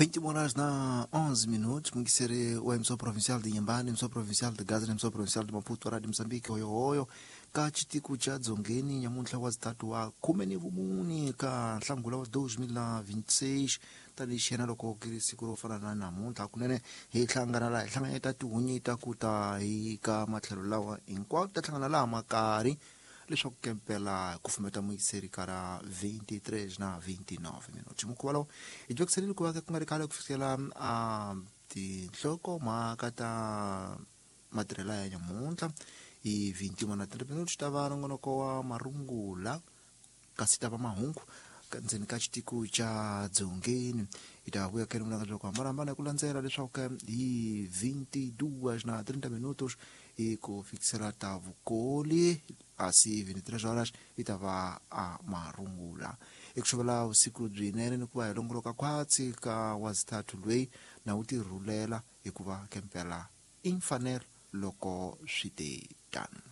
21 horas na 11 minutos, Mungisere o emissão provincial de Inhambane, emissão provincial de Gaza, emissão provincial de Maputo, Rádio Moçambique, oyo oyo, ka chitiku cha dzongeni nyamuntlha wa zitatu wa khume ni vumune ka nhlangula wa 2026 tanihi xiyena loko ku ri siku ro fana na namuntlha kunene hi hlangana laha hi hlanganyeta tihunyi ta ku ta hi ka matlhelo lawa hinkwawo ta hlangana laha makari leswaku kempela ku fumeta muyiseri ka ra 23 na 29 minuti mukhuva lowu hi twekiseleli ku va ku nga ri khale ku fikela a tinhlokomhaka ta matirhelo ya nyamuntlha hi 21 na 30 minuti ta va nongonoko wa marungula kasi ta va mahungu ndzeni ka xitiko xa dzongeni hi ta vuya kele mulanga bya ku hambanahambana hi ku landzela leswaku hi 22 na 30 minutos hi ku fikisela ta vukoli asi 23 horas yi ta va a marungula eku xovela vusiku byinene ni ku va hi longoloka khwatsi ka wazithathu lweyi na wu tirhulela hikuva kempela i mfanelo loko swi te tano.